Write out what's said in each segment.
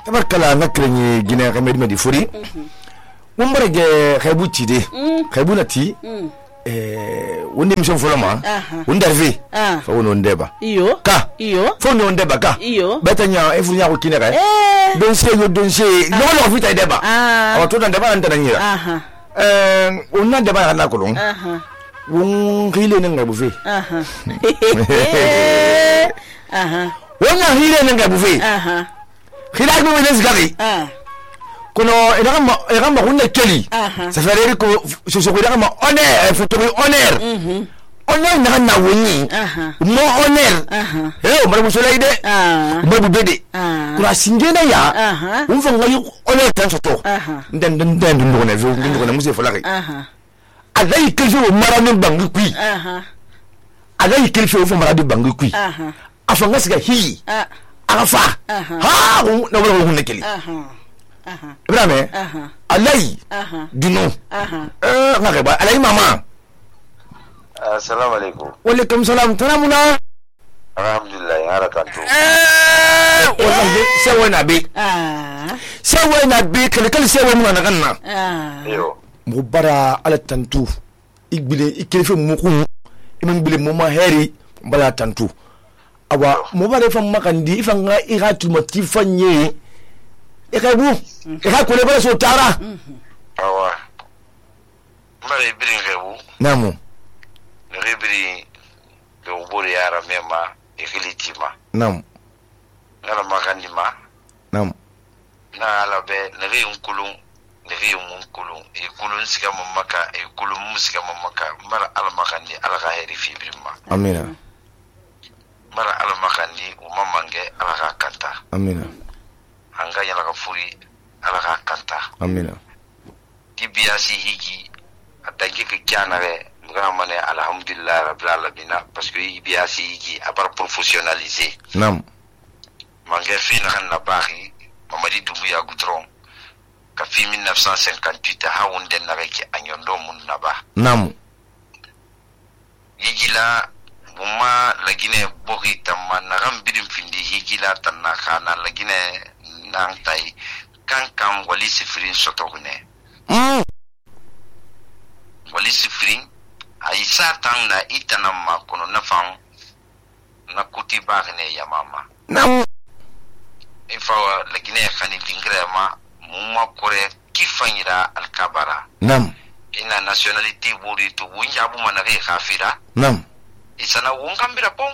tabarkala nakrenye gine remed medi furi umbarege khaybu tide khaybu nati wonde mission folama wondarve fa wono ndeba iyo fo no ndeba ka iyo betanya e funya ko kinere donse no fita deba awa to ndeba ndanyira onna deba na kolon won khile ne ngabu fe wona hile ne ngabu fe khila ko wele zgari kono edama hunne keli ça fait dire que ce so ko edama honneur faut honneur na woni mo honneur mara musola ide babu bede kura singena ya unfa ngayi honneur tan soto den ndo na vu ndo na musse folari adai kelfe o mara no bangi kui adai kelfe o fo mara de bangi kui afanga siga hi arafa ha na wala hunne keli Ibrahim alai dino ngakeba alai mama assalamu alaikum wa alaikum salam tanamuna alhamdulillah harakantu wallahi sewa na be kale sewa mun na kanna yo mubara ala tantu igbile ikelefe muku imam bile mama heri bala tantu awa mubare fa makandi ifanga iratu motifanye ikabu ikakule bala so tara awa mare birin rebu namu rebiri do bori yara mema ikilitima nam ngala makandima nam na ala be nari unkulun nari munkulun e kulun siga mamaka e kulun musika mamaka mara ala makandi ala ga heri fibrima amina mara ala makandi umamange ala ga kanta amina hanga yala ga furi ala ga kanta amina tibiyasi higi atangi ke kyanare ngamane alhamdulillah rabbil alamin parce que ibiyasi higi abar professionnaliser nam mange fina kan na bari mamadi dumbuya gutron ka fi 1958 ha wonde na reke anyondo mun na ba nam yigila buma lagine bogi tamma na gambidin findi higila tanna kana lagine nan tai kan wali sifrin sotogune wali sifrin aisa tan na itana ma kono na fan na kuti bagne ya mama nam ifa lagine khani dingre ma mumma kore kifanyira alkabara nam ina nationality buri to wunja bu manare khafira nam isana wungambira pon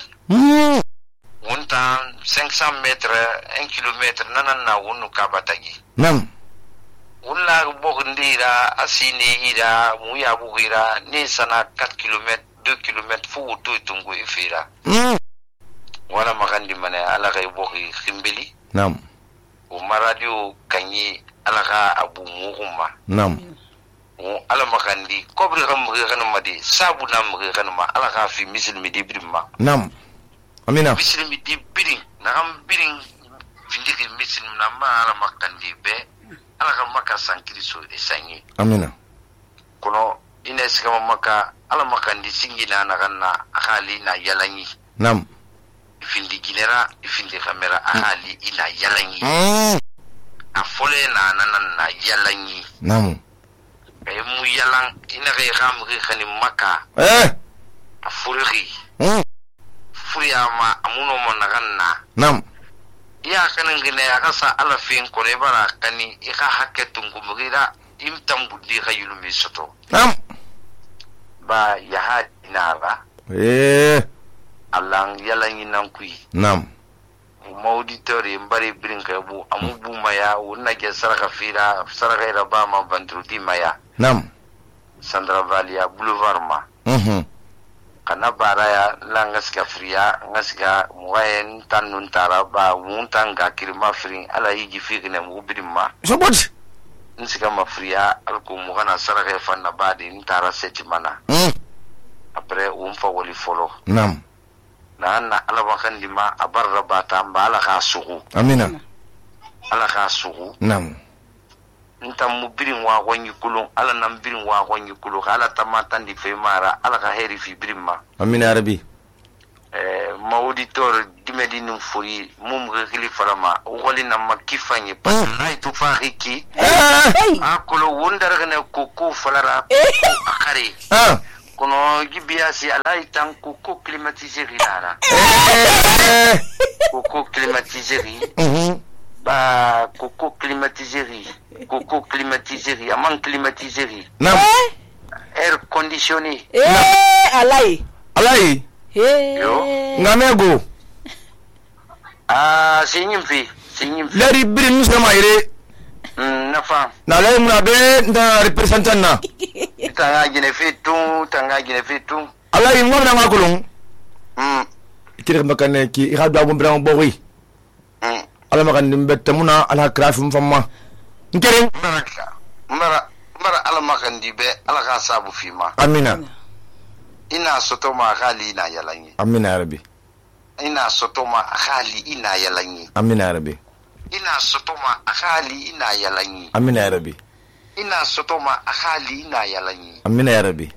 wunta 500 metres 1 kilometre nanana wunu kabatagi nam wulla bogndira asini ira muya bugira ni sana 4 km 2 km fu to tungu ifira wala magandi mane ala kay bogi khimbeli nam o maradio kanyi ala ga abu muhumma nam ala magandi kobri gam madi sabu nam ma ala ga fi mislimi dibrimma nam amina mislimi dibrin nam birin findiki muslim na ma ala makandi be ala ga maka sankiri so esanyi amina kono ina siga maka ala makandi singina na ganna akali na yalanyi nam ifindi ginera ifindi kamera akali ina yalanyi afole na yalanyi nam ay mu yalang ina kay khamri khani maka afulri furiyama amuno mo naganna nam ya kanan gine akasa ala fin ko le bara kani ika haketun gumugira imtam buddi khayulu misoto nam ba ya hadinara Allah yalangi nan kui nam auditori mbari brinka bu amubu maya wonna ke saraka fira saraka ira ba ma bandrudi maya nam Sandra Valia Boulevard ma kana baraya la ngaska fria ngaska muayen tanun taraba muntanga kirma frin ala yiji fikne mu bidima sobot nsika mafria alko mu kana saraka fanna badi ntara setimana après umfa wali folo nam na ala bakandi ma abarra bata mbala ka sugu amina ala ka sugu nam ntam mubirin wa wanyi kulun ala nam birin wa wanyi kulu ala tamatan di fe mara ala ka heri fi birima amina arabi ma auditeur dimedin furi mum gili farama wali na makifanye pasai tu fahiki akolo wondar gane koko falara akare kono gibiasi alai tan koko climatisé ridara koko climatisé ba koko climatisé amant climatisé air conditionné alai ngamego sinyimfi lari birin musa maire nafa na lay muna be nda representant na tanga gine fitu alai ngomna ngakulung kire makane ki ira do abum bran bori ala makan dimbe tamuna ala krafim famma nkere mara ala makan dibe ala ka sabu fima amina ina sotoma khali ina yalanyi amina ya rabbi ina sotoma khali ina yalanyi amina ya rabbi ina sotoma khali ina yalanyi amina ya rabbi ina sotoma khali ina yalanyi amina ya rabbi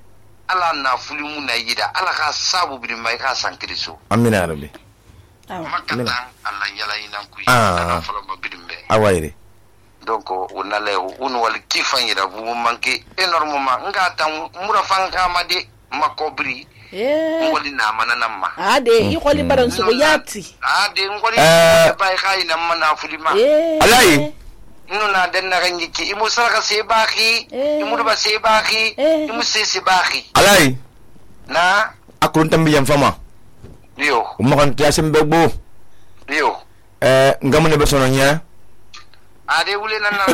ala na fulimu na yida ala ka sabu bi mai ka sankiriso amina ya rabbi makatan ala yalanyi nan ku ana falo mabidimbe awaire donc on ale on wal kifan yida bu manke énormément ngata murafanga made makobri ngoli na manana ma ade ikoli baran su yati ade ngoli bai kai na mana fulima alai nuna dan na ganjiki imu saraka se baki imu ba se baki imu se baki alai na akurun tambiyan fama yo umakan tiasim begbo yo ngamu ne besono nya ade wule nan na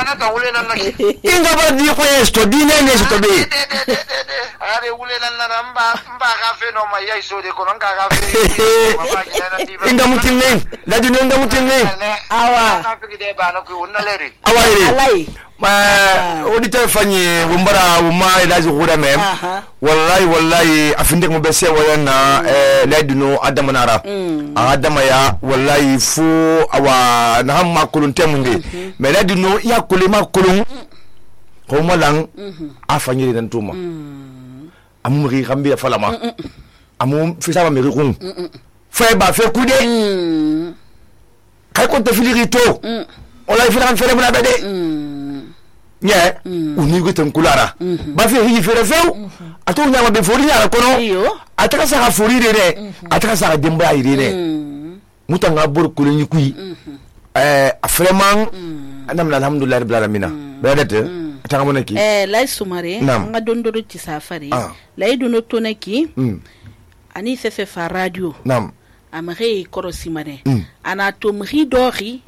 na ta wule nan na inga ba di ko esto di ne sto be ade wule nan na mba ka fe no ma yai so de ko non ka fe inga mutinne la di inga mutinne awa ka fe de ba no ko unaleri alai auditeur fanye wumbara wuma ilaji gura mem wallahi afinde mo bese wayana la dino adamanara adama ya wallahi fu awa na hamma kulun temunde me la dino ya kulima kulun ko malang afanye dan tuma amuri kambi falama amu fisaba mi rikun fe ba fe kude kay ko te filirito wallahi filan fere muna bede nye unigo tenkulara ba fe hi fere feu ato nyama be fori nyara kono ataka sa fori rere ataka sa demba irene mutanga bor kulunyi kui afreman anam alhamdulillah rabbil alamin bedete atanga monaki lay sumare nga dondoro ci safari lay duno tonaki ani se fa radio nam amare korosimare ana to mri dori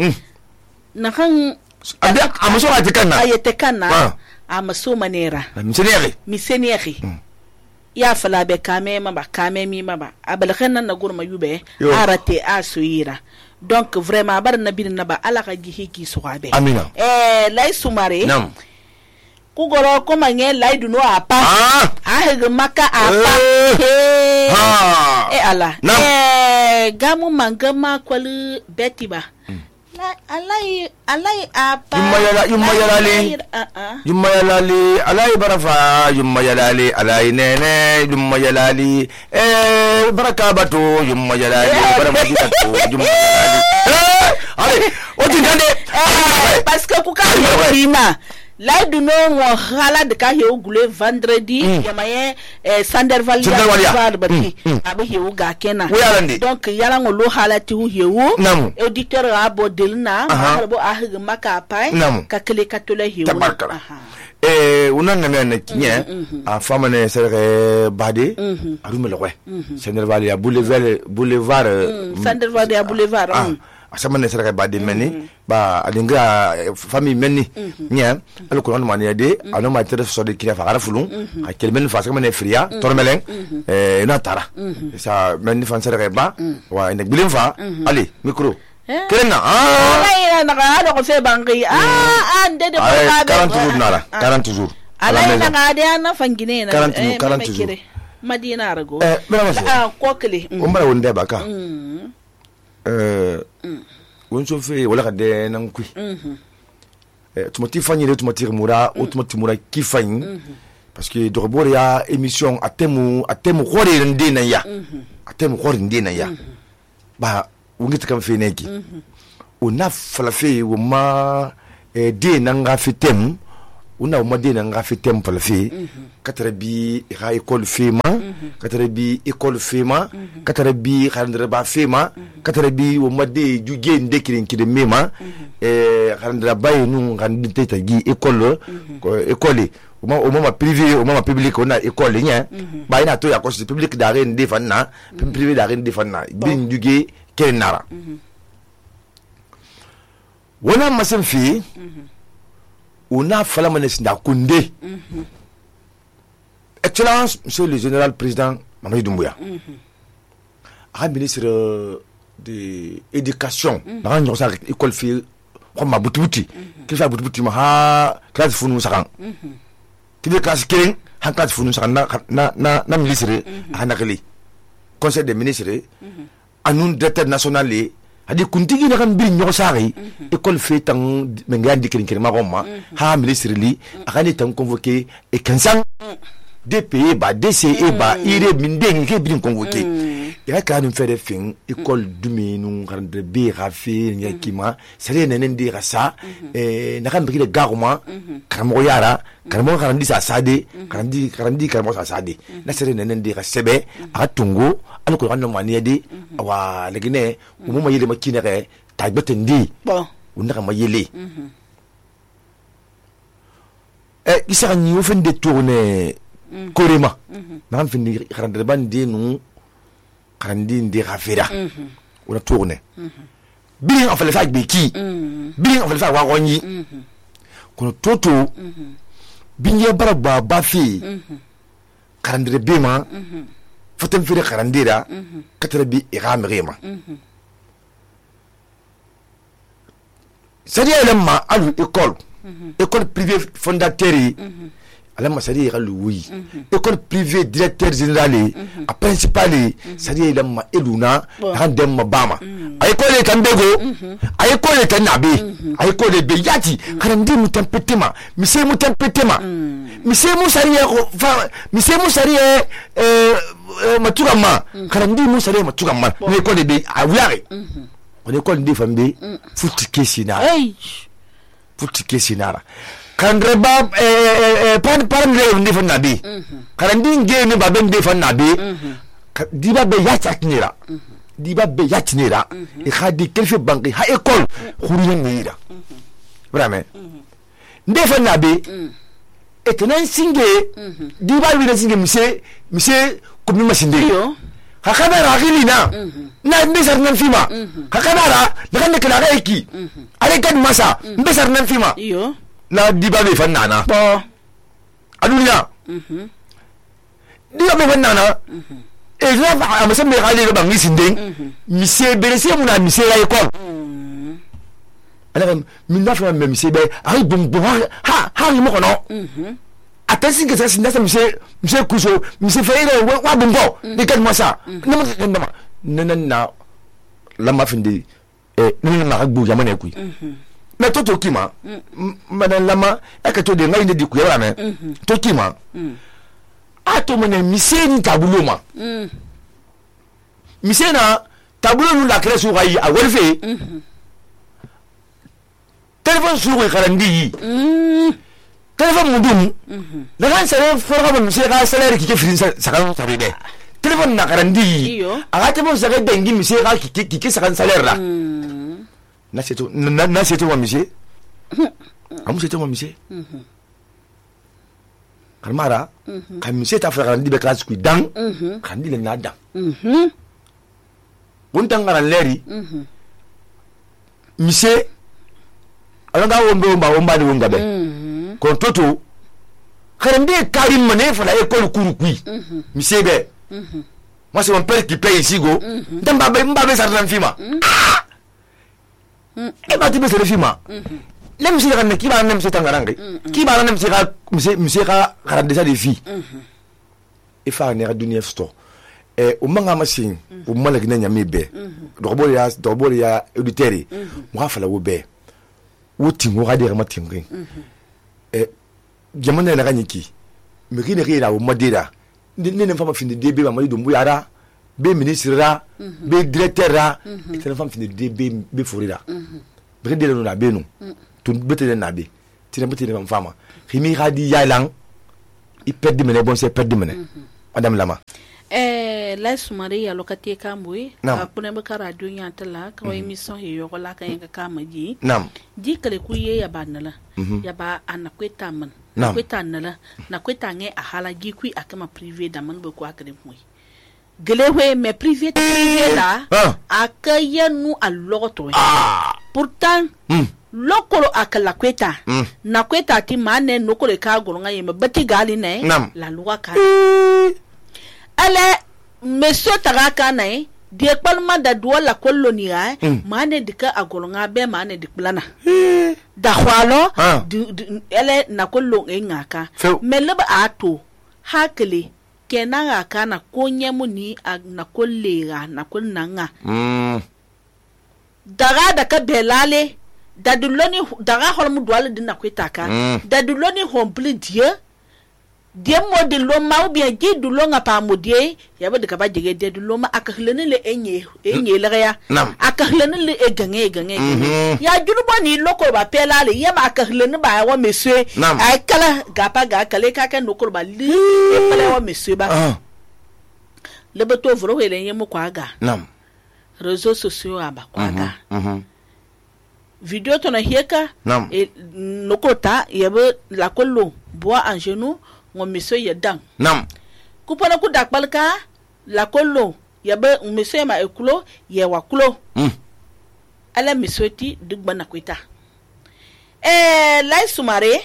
na kan amaso atikana ayetekana amaso manera miseneri ya fala be kame mi maba abalkhana na gurma yube arate asoira donc vraiment bar nabi na ba ala ka gihi ki soabe amina lay sumare ku goro ko manye lay duno apa hege maka apa ala gamu mangama kwal betiba alai apa yumma yalali alai barafa yumma yalali alai nene yumma yalali baraka bato yumma yalali baramati bato yumma yalali ale oti gande parce que ku ka rima la du no ngo hala de ka he ogule vendredi yamaye sanderval ya bati abe he uga kena donc yala ngo lo hala ti hu he wu auditeur abo delna bo ahig maka pai ka kele katole he wu unan na men kinye a famane sere bade arume lo kwe sanderval ya boulevard sanderval ya boulevard asama ne sera ba de meni ba alinga famille meni nya alko non mani de ano ma tere so de kila fa fulun a kelmen fa sama ne fria tormelen na tara sa meni fan sera ba wa nek bilim fa ali micro kelena ala na ga do ko se bangi ande de ba 40 jours nara 40 jours ala na ga de na fangine na 40 jours madina rago ko kele o mara wonde ba ka wonso fe wala kade nan kui tumati fanyire tumati mura o tumati mura kifanyi parce que dɔgɔbɔrɔ ya émission a temu khore nde na ya a temu khore nde na ya ba wongi takam fe neki ona falafe wo ma de nanga fitem una wo ma de nanga fitem falafe katara bi ha école fema katara bi école fema katara bi khandra ba fema katara bi wo ma de juge ndekirin kide mema khandra ba yinu ngandite ta gi école école au moment privé au moment public on a école nya ba ina to ya ko public da ren de fanna privé da ren de fanna bin juge kenara wona masan fi on a fala manesnda kunde excellence monsieur le général président Mamadou Doumbouya a ministre de éducation na nyo sa école fi ko ma butubuti ki fa butubuti ma ha classe funu sakan ki be classe ken ha classe funu sakan na ministre hanakali conseil des ministres anun directeur national adi kuntigi na kan bi nyo sari école fait tan menga dikirin kirma gomma ha ministre li akani tan convoqué et 15 DPE ba DCE ba ire mindeng ke bin convoqué ya ka nu fere fin école dumenu grande be rafi nyakima sare nenen di rasa na kan bi de garuma karamo yara karamo karandi sa sade karandi karamo sa sade na sare nenen di rasebe atungo an ko ranno maniade wa legine umuma yele makine re tagbete ndi bon unaka mayele isa ni ofen de tourner korema na fin grande bande nu karandi ndi rafira una tourner bien en fait le fait beki bien en fait le fait wa gonyi kono toto binye baraba bafi karandre bema fotem fere karandira katara bi iramrema c'est-à-dire lemma alu école privée fondateur alama sari ga lui école privée directeur général a principal sari lemma eluna handem mabama ay ko le tambego ay ko le tanabe ay ko le beyati karandi mutampetema mise mutampetema mise musari fa mise musari matugama karandi musari matugama ne ko le be awiyare on école de fambe futi kesinara kandreba par le ndi fan nabi karandi nge ne baben de fan nabi diba be yatatnira e khadi kelfe banki ha école khuriyen nira vraiment nde fan nabi et nan singe diba wi na singe mise ko mi masinde hakabara gilina na mbesar nan fima hakabara daga ne kala eki ale kan masa mbesar nan fima yo na diba be fan nana bo adunya diba be fan nana e la fa amasa me gale ba ngi sinde mise berese muna mise la école ala min na fa me mise be ay bombo ha mo kono attention que ça c'est ça monsieur Kuso monsieur Ferreira wa bombo ni kan masa na la ma finde nana na gbu jamane ku mais toto kima manan lama akato de ngai de ku ya na to kima ato mene mise ni tabulo ma mise na tabulo nu la crèche rai a wolfe téléphone sur karandi téléphone mudum la kan sare forga bon mise ka salaire ki ke firin sakan sare de téléphone na karandi aga te bon sare dengi mise ka ki sakan salaire la na seto wa mise amu seto wa mise kalmara kan mise ta fra karandi be classe ku dan karandi le nada won tangara leri mise alanga womba ni wonga be kon toto karandi karim mané fa la école kurukui mise be moi c'est mon père qui paye ici go ndamba be sarnan fima e ba tibe sere fima lem si kan ki ba nem se tangarange ki ba nem se mise ka karandi sa de fi e fa ne dunia sto o manga masin o malak na nyame be dobori ya auditeri mo ha fala wo be wo tingo ga de ma tingin jamana na ganyiki meki ne kira o madira ne fama fin de be Mamadi Doumbouya ra be ministre ra be directeur ra ne fama fin de be forira be de no na be no tun bete na be tina bete ne fama khimi khadi yalang i perdre mene bon c'est perdre mene madame Lama la sumari ya lokati kambui akune baka radio nyantala ka emission he yo la kan ka kamaji di kale kuye ya banala ya ba anakweta man kweta nala na kweta nge ahala gi kui akama privé da man bako akare mui gele we me privé la akayenu aloto pourtant lokolo akala kweta na kweta ti mane nokole ka golonga yema bati gali ne la loi ka ale monsieur taraka nai die palma da duala kolonia mane dika agolonga be mane diklana da khwalo ele na kollo ngaka melaba ato hakle kenanga kana konyemu ni na kollega na konnanga daga da ka belale da duloni daga holmu duala dinna kwetaka da duloni hombli die modi lo ma ou bien di dulo nga pa modie ya ba de ka ba jege de dulo ma akahlene le enye le ya akahlene le gange ya juruba ni loko ba pela le ya ma akahlene ba wa monsieur ay kala gapa ga kale ka kan nokol ba li pele wa monsieur ba le beto vro hele yemo kwa ga réseaux sociaux aba kwa ga video to na hieka nokota yebe la kollo bois en genou mon monsieur yedang kupana ku dakbalka la kollo yabe monsieur ma ekulo ye wakulo ala monsieur ti dugbana kwita lai sumare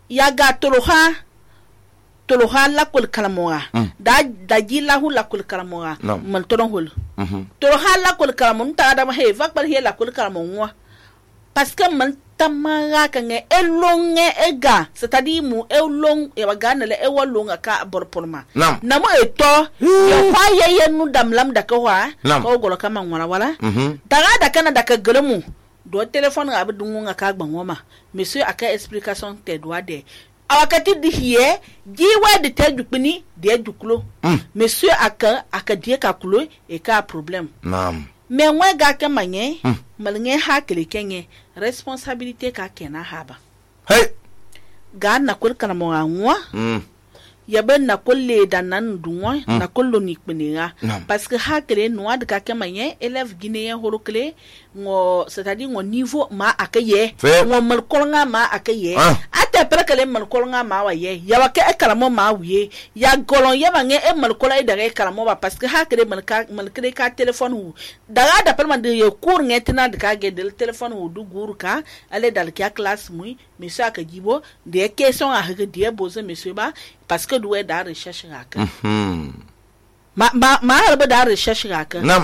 ya ga toloha la kul kalamoa da jila hu la kul kalamoa man toron hol toloha la kul kalamon ta da he vakbal he la kul kalamoa parce que man tamara kange elonge ega c'est-à-dire mu elong e bagana le ewalonga ka borporma na mo eto yo kwaye yenu damlam da ka wa ko golo kama ngwara wala daga da kana da ka gelemu do telephone ga budunga ka gbanwoma monsieur aka explication te doit de awakati di hiye jiwa de te dukuni de dukulo monsieur aka die ka kulo e ka problem mais moi ga ka manye malnge ha kele kenye responsabilité ka kena haba ga na kul kana mo anwa ya ben na kolle da nan dunwa na kollo ni kpenera parce que ha kele noa de ka manye élève guinéen horokle ngo c'est-à-dire ngo niveau ma akaye ngo mal kolnga ma akaye ate prekele mal kolnga ma wa ye ya wa ke kalamo ma wiye ya golon ya bange e mal kola da ke kalamo ba parce que ha kele mal kele ka téléphone hu daga da perman de ye cour ngetina de ka ge de téléphone hu du guru ka ale dal ki classe mui monsieur ka jibo de question a hege de boze monsieur ba parce que doué da recherche ka ma harba da recherche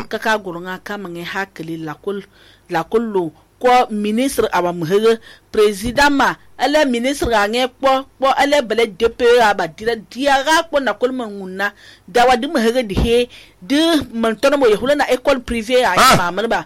ka gurunga kama nge hakili la kullu ko ministre aba muhege président ma ala ministre nge po ala bele DP aba diaga ko na kulma nguna da wadi muhege di he de man tono mo yehula na école privée a ma ba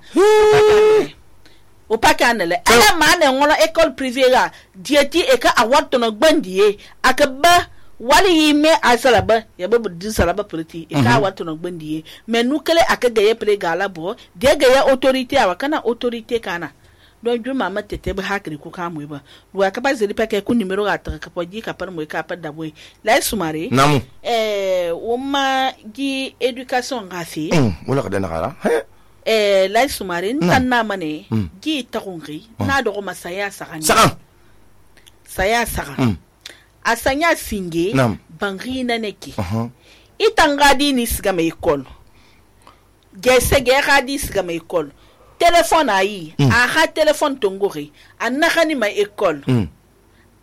o pakanele ala ma na ngola école privée ga dieti e ka awato no gbandie akaba wali me asalaba ya babu din salaba priti e ka wato no gbandie mais nous kele akaga ye pre gala bo de ga ya autorité awa kana autorité kana don ju mama tete ba hakri ku ka mu ba wa ka ba zeli peke ku numero ga ta ka poji ka par mu ka pa da boy la sumare namu o ma gi éducation ga fi wala ka dana kala la sumare tan na mane gi ta kongi na do ma saya saka asanya singe bangina neki itangadi ni siga me école gese geradi siga me école téléphone ayi aha téléphone tongori anakani ma école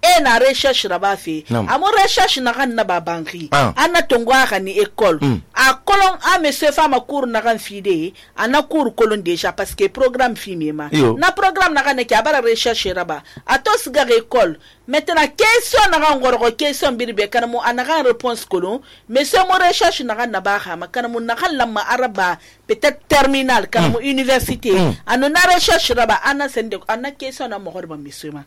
e na recherche raba fi amo recherche na kan na babangi ana tongwa ni école a kolon a monsieur fama cours na kan fide ana cours kolon déjà parce que programme fimema na programme na kan ki abara recherche raba atos ga école maintenant question na kan ngoro question birbe kana mo ana kan réponse kolon monsieur mo recherche na kan na ba ha makana mo na kan lamma araba peut-être terminal kana mo université ana na recherche raba ana sende ana question na mo horba monsieur ma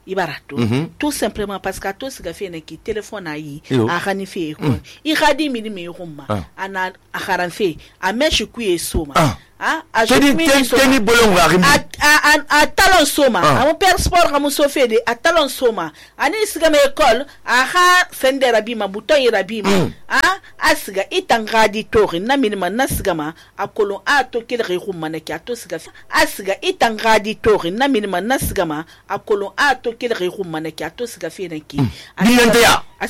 ibarato tout simplement parce que to siga fe ne ki téléphone ayi a khani fe ko I khadi mi mi rumma ana a kharan fe a meshi ku e soma a teni bolon wa a talon soma a mon père sport ka mo sofé de a talon soma ani siga me école a kha sendera bi ma buton ira bi ma a siga itangadi tori na minima na siga ma a kolon a to kele re rumma ne ki a to siga a siga itangadi tori na minima na siga ma a kolon a to kele re rumma ne ki a to siga fe ne ki a